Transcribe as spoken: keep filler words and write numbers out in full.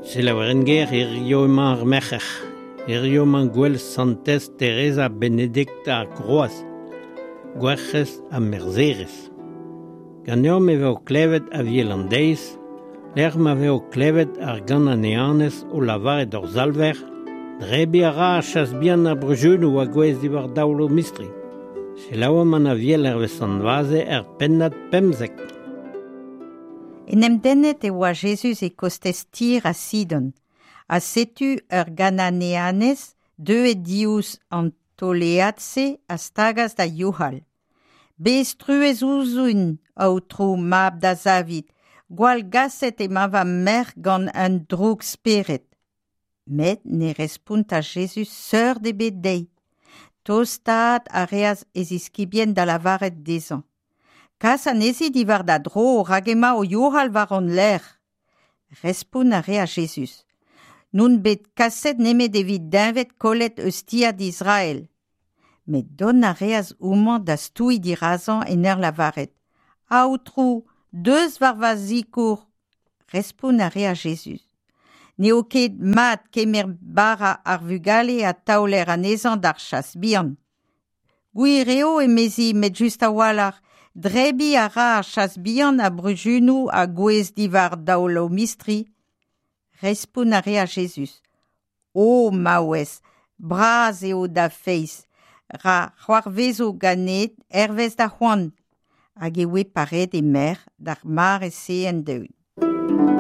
Selaouer ger hirio emañ ar merc'her. Hirio emañ gwell Santez Teresa Benedicta ar Groaz, Gwerc'hez ha Merzherez. Ganeomp e vo klevet Aviel an deiz, lec'h ma vo klevet ar Gananeanez o lavaret d'hor Salver, drebiñ a ra ar chas bihan ar bruzhunoù a gouez diwar daol o mistri. Selaouomp an Aviel hervez Sant Vaze er pennad pemzek. En em dennet e oa Jezuz e kostez Tir ha Sidon, ha setu ur Gananeanez deuet diouzh an tolead-se a stagas da youc'hal. Bez truez ouzhin, Aotrou, mab da Zavid, gwall gaset emañ va merc'h gant un droug-spered. Met ne respontas Jezuz seurt ebet dezhi. Tostaat a reas e ziskibien da lavaret dezhañ. Kas anezhi diwar da dro, rak emañ o youc'hal war hon lerc'h. Respont a reas Jezuz. N'on bet kaset nemet evit deñved kollet eus tiad Israel. Met dont a reas homañ da stouiñ dirazañ en ur lavaret. Aotrou, deus war va sikour. Respont a reas Jezuz. N'eo ket mat kemer bara ar vugale ha taoler anezhañ d'ar chas bihan. Gwir eo emezi met just a-walc'h, drebiñ a ra ar chas bihan ar bruzhunoù a gouez diwar daol o mistri. Respont a reas Jezuz. O maouez, bras eo da feiz, ra c'hoarvezo ganit hervez da c'hoant. Hag e oe pareet he merc'h d'ar mare-se end-eeun.